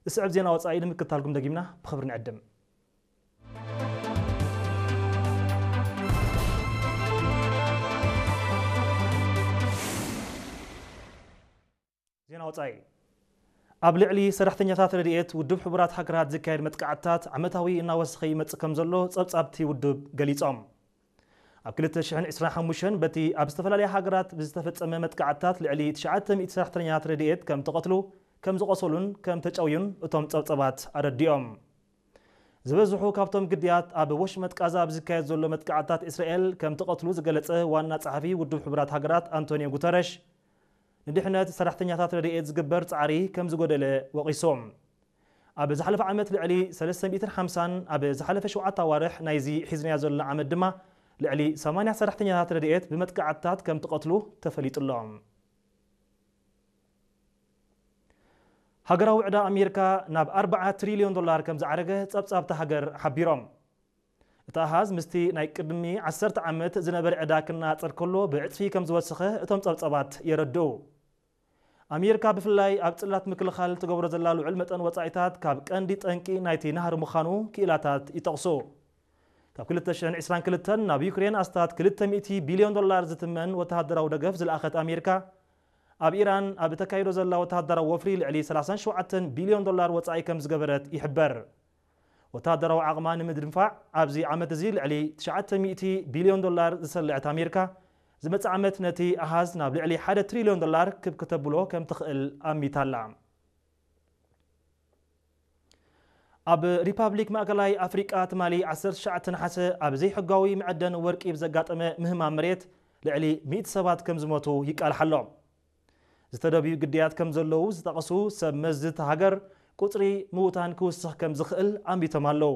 ዝስዕብ ዜና ወጻኢ ንምክታልኩም ደጊምና ብኽብሪ ንዕድም። ዜና ወጻኢ። ኣብ ልዕሊ ሰራሕተኛታት ረድኤት ውድብ ሕቡራት ሃገራት ዝካየድ መጥቃዕትታት ዓመታዊ እናወሰኸ ይመጽእ ከም ዘሎ ጸብጻብቲ ውድብ ገሊጾም። ኣብ ክልተ ሽሕን ዕስራን ሓሙሽተን በቲ ኣብ ዝተፈላለያ ሃገራት ብዝተፈጸመ መጥቃዕትታት ልዕሊ ትሽዓተ ሚእቲ ሰራሕተኛታት ረድኤት ከም ተቐትሉ፣ ከም ዝቖሰሉን ከም ተጨውዩን እቶም ጸብጻባት ኣረዲኦም። ዝበዝሑ ካብቶም ግዳያት ኣብ ወሽመጥ ቃዛ ኣብ ዝካየድ ዘሎ መጥቃዕትታት እስራኤል ከም ተቐትሉ ዝገለጸ ዋና ጸሓፊ ውድብ ሕቡራት ሃገራት ኣንቶኒዮ ጉተረሽ፣ ንድሕነት ሰራሕተኛታት ረድኤት ዝግበር ጻዕሪ ከም ዝጎደለ ወቒሶም። ኣብ ዝሓለፈ ዓመት ልዕሊ ሰለስተ ሚእትን ሓምሳን፣ ኣብ ዝሓለፈ ሸውዓተ ኣዋርሕ ናይዚ ሒዝናዮ ዘለና ዓመት ድማ ልዕሊ ሰማንያ ሰራሕተኛታት ረድኤት ብመጥቃዕትታት ከም ተቐትሉ ተፈሊጡ ኣሎ። ሃገራዊ ዕዳ ኣሜሪካ ናብ ኣርባዓ ትሪልዮን ዶላር ከም ዝዓረገ ጸብጻብቲ ሃገር ሓቢሮም። እቲ ኣሃዝ ምስቲ ናይ ቅድሚ ዓሰርተ ዓመት ዝነበረ ዕዳ ክነጻጸር ከሎ ብዕጽፊ ከም ዝወሰኸ እቶም ጸብጻባት የረድኡ። ኣሜሪካ ብፍላይ ኣብ ጽላት ምክልኻል ትገብሮ ዘላ ልዑል መጠን ወጻኢታት ካብ ቀንዲ ጠንቂ ናይቲ ናህሪ ምዃኑ ክኢላታት ይጠቕሱ። ካብ ክልተ ሽሕን ዕስራን ክልተን ናብ ዩክሬን ኣስታት ክልተ ሚእቲ ቢልዮን ዶላር ዝትመን ወተሃደራዊ ደገፍ ዝለኣኸት ኣሜሪካ፣ ኣብ ኢራን ኣብ እተካይዶ ዘላ ወተሃደራዊ ወፍሪ ልዕሊ ሰላሳን ሸውዓተን ቢልዮን ዶላር ወጻኢ ከም ዝገበረት ይሕበር። ወተሃደራዊ ዓቕማ ንምድንፋዕ ኣብዚ ዓመት እዚ ልዕሊ ትሽዓተ ሚእቲ ቢልዮን ዶላር ዝሰለዐት ኣሜሪካ፣ ዝመጽእ ዓመት ነቲ ኣሃዝ ናብ ልዕሊ ሓደ ትሪልዮን ዶላር ክብ ክተብሎ ከም ትኽእል ኣሚታ ኣላ። ኣብ ሪፓብሊክ ማእከላይ ኣፍሪቃ ትማሊ ዓሰርተ ትሽዓተ ነሓሰ ኣብ ዘይሕጋዊ መዐደኒ ወርቂ ብዘጋጠመ ምህማም መሬት ልዕሊ ሚእቲ ሰባት ከም ዝሞቱ ይቃልሓ ኣሎ። ዝተደብዩ ግዳያት ከም ዘለዉ ዝጠቐሱ ሰብ መዚ እታ ሃገር፣ ቁጽሪ ምዉታን ክውስኽ ከም ዝኽእል ኣንቢቶም ኣለዉ።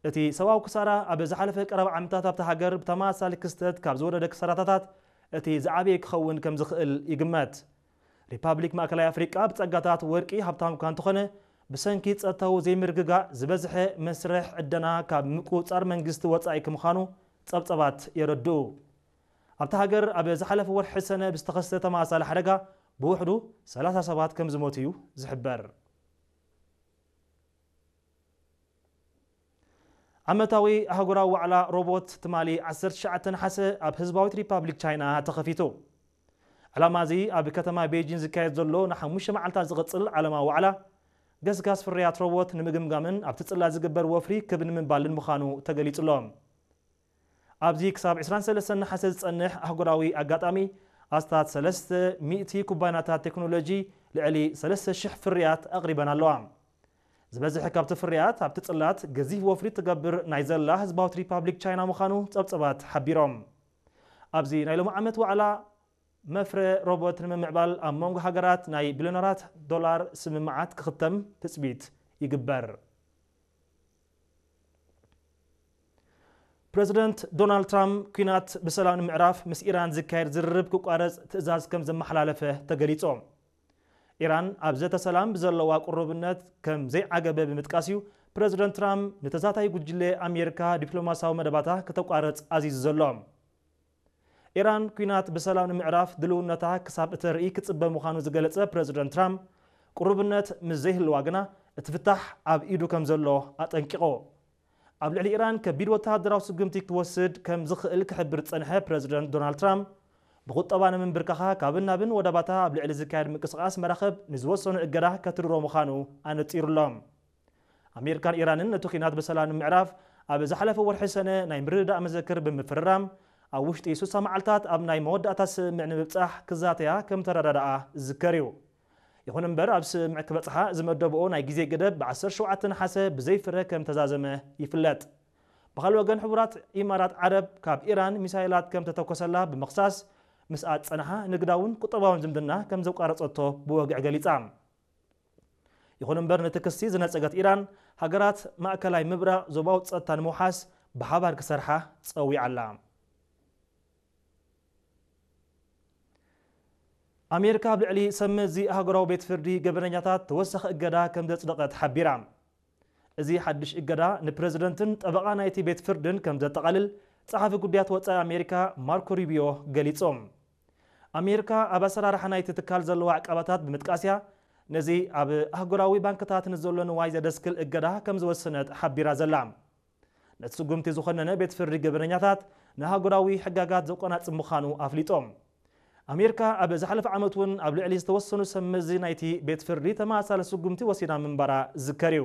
እቲ ሰብኣዊ ክሳራ ኣብ ዝሓለፈ ቀረባ ዓመታት ኣብታ ሃገር ብተመሳሳሊ ክስተት ካብ ዝወረደ ክሳራታት እቲ ዝዓበየ ክኸውን ከም ዝኽእል ይግመት። ሪፓብሊክ ማእከላይ ኣፍሪቃ ብጸጋታት ወርቂ ሃብታም እኳ እንተኾነ፣ ብሰንኪ ጸጥታዊ ዘይምርግጋእ ዝበዝሐ መስርሕ ዕደና ካብ ምቁጽጻር መንግስቲ ወጻኢ ከምዃኑ ጸብጸባት የረድኡ። ኣብታ ሃገር ኣብ ዝሓለፈ ወርሒ ሰነ ብዝተኸስተ ተመሳሳሊ ሓደጋ ብውሕዱ ሰላሳ ሰባት ከም ዝሞቱ እዩ ዝሕበር። ዓመታዊ ኣህጉራዊ ዋዕላ ሮቦት ትማሊ ዓሰርተ ትሽዓተ ነሓሰ ኣብ ህዝባዊት ሪፓብሊክ ቻይና ተኸፊቱ። ዕላማ እዚ ኣብ ከተማ ቤጂን ዝካየድ ዘሎ ንሓሙሽተ መዓልታት ዝቕጽል ዓለማዊ ዋዕላ ገስጋስ ፍርያት ሮቦት ንምግምጋምን ኣብቲ ጽላት ዝግበር ወፍሪ ክብ ንምባልን ምዃኑ ተገሊጹ ኣሎ። ኣብዚ ክሳብ ዕስራን ሰለስተን ነሓሰ ዝጸንሕ ኣህጉራዊ ኣጋጣሚ ኣስታት ሰለስተ ሚእቲ ኩባንያታት ቴክኖሎጂ ልዕሊ ሰለስተ ሽሕ ፍርያት ኣቕሪበን ኣለዋ። ዝበዝሕ ካብቲ ፍርያት ኣብቲ ጽላት ገዚፍ ወፍሪ ትገብር ናይ ዘላ ህዝባዊት ሪፓብሊክ ቻይና ምዃኑ ጸብጸባት ሓቢሮም። ኣብዚ ናይ ሎሚ ዓመት ዋዕላ መፍረ ሮቦት ንምምዕባል ኣብ መንጎ ሃገራት ናይ ቢልዮነራት ዶላር ስምምዓት ክኽተም ትጽቢት ይግበር። ፕረዚደንት ዶናልድ ትራምፕ ኲናት ብሰላም ንምዕራፍ ምስ ኢራን ዝካየድ ዝርርብ ክቋረጽ ትእዛዝ ከም ዘመሓላለፈ ተገሊጹ። ኢራን ኣብ ዘተ ሰላም ብዘለዋ ቅሩብነት ከም ዘይዓገበ ብምጥቃስ እዩ ፕረዚደንት ትራምፕ ንተዛታይ ጉጅለ ኣሜሪካ ዲፕሎማስያዊ መደባታ ከተቋርጽ ኣዚዙ ዘሎ። ኢራን ኲናት ብሰላም ንምዕራፍ ድልውነታ ክሳብ እተርኢ ክጽበ ምዃኑ ዝገለጸ ፕረዚደንት ትራምፕ፣ ቅሩብነት ምስ ዘይህልዋ ግና እቲ ፍታሕ ኣብ ኢዱ ከም ዘሎ ኣጠንቂቑ። ኣብ ልዕሊ ኢራን ከቢድ ወተሃደራዊ ስጉምቲ ክወስድ ከም ዝኽእል ክሕብር ዝጸንሐ ፕረዚደንት ዶናልድ ትራምፕ፣ ብቁጠባ ንምንብርካኻ ካብን ናብን ወደባታ ኣብ ልዕሊ ዝካየድ ምንቅስቓስ መራኽብ ንዝወሰኖ እገዳ ከትርሮ ምዃኑ ኣነጺሩ ኣሎ። ኣሜሪካን ኢራንን ነቲ ኲናት ብሰላም ንምዕራፍ ኣብ ዝሓለፈ ወርሒ ሰነ ናይ ምርድዳእ መዘክር ብምፍርራም፣ ኣብ ውሽጢ ስሳ መዓልታት ኣብ ናይ መወዳእታ ስምምዕ ንምብጻሕ ክዛተያ ከም ተረዳድኣ ዝዝከር እዩ። ይኹን እምበር፣ ኣብ ስምምዕ ክበጽሓ ዝመደብኦ ናይ ግዜ ገደብ ብ ዓሰርተ ሸውዓተ ነሓሰ ብዘይ ፍረ ከም ተዛዘመ ይፍለጥ። ብኻልእ ወገን፣ ሕቡራት ኢማራት ዓረብ ካብ ኢራን ሚሳይላት ከም ተተኮሰላ ብምኽሳስ፣ ምስኣ ዝጸንሓ ንግዳውን ቁጠባውን ዝምድና ከም ዘቋረጸቶ ብወግዒ ገሊጻ። ይኹን እምበር፣ ነቲ ክሲ ዝነጸገት ኢራን፣ ሃገራት ማእከላይ ምብራቕ ዞባዊ ጸጥታ ንምውሓስ ብሓባር ክሰርሓ ጸዊዓ ኣላ። ኣሜሪካ ኣብ ልዕሊ ሰብ መዚ ኣህጉራዊ ቤት ፍርዲ ገበነኛታት ተወሳኺ እገዳ ከም ዘጽደቐት ሓቢራ። እዚ ሓድሽ እገዳ ንፕረዚደንትን ጠበቓ ናይቲ ቤት ፍርድን ከም ዘጠቓልል ጸሓፊ ጉዳያት ወጻኢ ኣሜሪካ ማርኮ ሩቢዮ ገሊጾም። ኣሜሪካ ኣብ ኣሰራርሓ ናይቲ ትካል ዘለዋ ዕቃባታት ብምጥቃስ እያ ነዚ ኣብ ኣህጉራዊ ባንክታት ንዘሎ ንዋይ ዘደስክል እገዳ ከም ዝወሰነት ሓቢራ ዘላ። ነቲ ስጉምቲ ዝኾነነ ቤት ፍርዲ ገበነኛታት ንኣህጉራዊ ሕጋጋት ዘቆናጽብ ምዃኑ ኣፍሊጦም። ኣሜሪካ ኣብ ዝሓለፈ ዓመት እውን ኣብ ልዕሊ ዝተወሰኑ ሰብ መዚ ናይቲ ቤት ፍርዲ ተመሳሳሊ ስጉምቲ ወሲዳ ምንባራ ዝዝከር እዩ።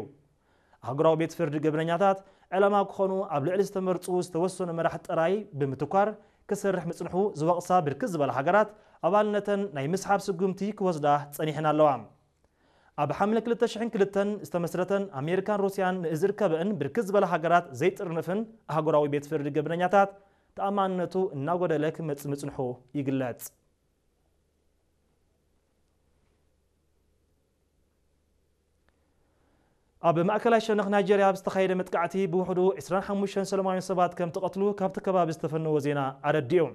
ኣህጉራዊ ቤት ፍርዲ ገበነኛታት ዕላማ ክኾኑ ኣብ ልዕሊ ዝተመርጹ ዝተወሰኑ መራሕቲ ጥራይ ብምትኳር ክሰርሕ ምጽንሑ ዝወቕሳ ብርክት ዝበላ ሃገራት ኣባልነተን ናይ ምስሓብ ስጉምቲ ክወስዳ ጸኒሐን ኣለዋ። ኣብ ሓምለ ክልተ ሽሕን ክልተን ዝተመስረተን ኣሜሪካን ሩስያን ንዝርከበእን ብርክት ዝበላ ሃገራት ዘይጥርንፍን ኣህጉራዊ ቤት ፍርዲ ገበነኛታት ተኣማንነቱ እናጎደለ ክመጽእ ምጽንሑ ይግለጽ። ኣብ ማእከላይ ሸነኽ ናይጄርያ ዝተኻየደ መጥቃዕቲ ብውሕዱ ዕስራን ሓሙሽተን ሰላማውያን ሰባት ከም ተቐትሉ ካብቲ ከባቢ ዝተፈነወ ዜና ኣረዲኡ።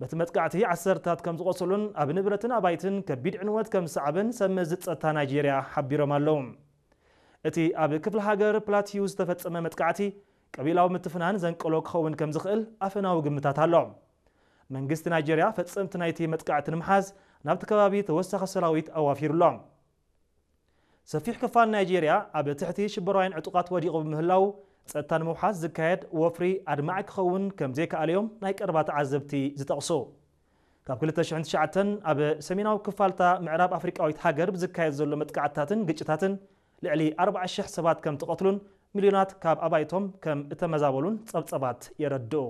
በቲ መጥቃዕቲ ዓሰርታት ከም ዝቖሰሉን ኣብ ንብረትን ኣባይትን ከቢድ ዕንወት ከም ዝሰዓበን ሰብ መዚ ጸጥታ ናይጄርያ ሓቢሮም ኣለዉ። እቲ ኣብ ክፍለ ሃገር ፕላቲዩ ዝተፈጸመ መጥቃዕቲ ቀቢላዊ ምትፍናን ዘንቀሎ ክኸውን ከም ዝኽእል ኣፈናዊ ግምታት ኣሎ። መንግስቲ ናይጄርያ ፈጸምቲ ናይቲ መጥቃዕቲ ንምሓዝ ናብቲ ከባቢ ተወሳኺ ሰራዊት ኣዋፊሩ ኣሎ። ሰፊሕ ክፋል ናይጄርያ ኣብ ትሕቲ ሽበራውያን ዕጡቓት ወዲቑ ብምህላው፣ ጸጥታ ንምውሓስ ዝካየድ ወፍሪ ኣድማዒ ክኸውን ከም ዘይከኣለ እዮም ናይ ቀረባ ተዓዘብቲ ዝጠቕሱ። ካብ ክልተ ሽሕን ትሽዓተን ኣብ ሰሜናዊ ክፋልታ ምዕራብ ኣፍሪቃዊት ሃገር ብዝካየድ ዘሎ መጥቃዕትታትን ግጭታትን ልዕሊ ኣርባዓ ሽሕ ሰባት ከም ተቐትሉን ሚልዮናት ካብ ኣባይቶም ከም እተመዛበሉን ጸብጸባት የረድኡ።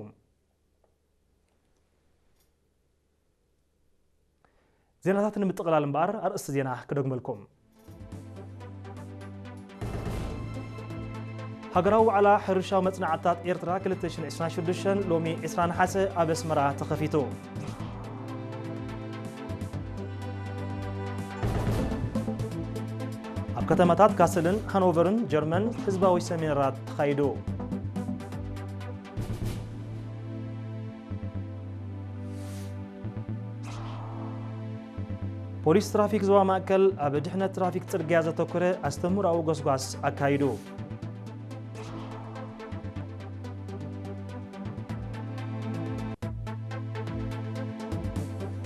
ዜናታት ንምጥቕላል እምበኣር ኣርእስቲ ዜና ክደግመልኩም። ሃገራዊ ዋዕላ ሕርሻዊ መጽናዕትታት ኤርትራ ክልተ ሽሕን ዕስራን ሽዱሽተን ሎሚ ዕስራ ነሓሰ ኣብ ኣስመራ ተኸፊቱ። ኣብ ከተማታት ካስልን ሃኖቨርን ጀርመን ህዝባዊ ሰሚናራት ተኻይዱ። ፖሊስ ትራፊክ ዞባ ማእከል ኣብ ድሕነት ትራፊክ ጽርግያ ዘተኮረ ኣስተምህሮኣዊ ጎስጓስ ኣካይዱ።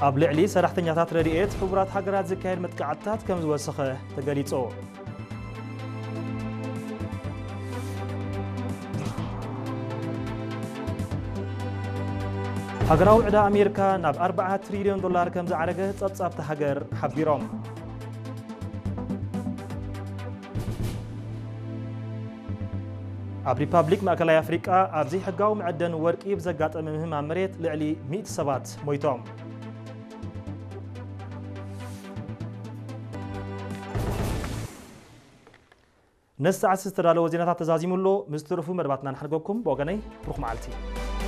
ኣብ ልዕሊ ሰራሕተኛታት ረድኤት ሕቡራት ሃገራት ዝካየድ መጥቃዕትታት ከም ዝወሰኸ ተገሊጹ። ሃገራዊ ዕዳ ኣሜሪካ ናብ ኣርባዓ ትሪልዮን ዶላር ከም ዝዓረገ ጸብጻብቲ ሃገር ሓቢሮም። ኣብ ሪፓብሊክ ማእከላይ ኣፍሪቃ ኣብ ዘይሕጋዊ መዐደን ወርቂ ብዘጋጠመ ምህማም መሬት ልዕሊ ሚእቲ ሰባት ሞይቶም። ነዚ ሰዓት ዝተዳለወ ዜናታት ተዛዚሙ ኣሎ። ምስ ትርፉ መደባትና ንሓድገኩም። ብወገነይ ብሩኽ መዓልቲ።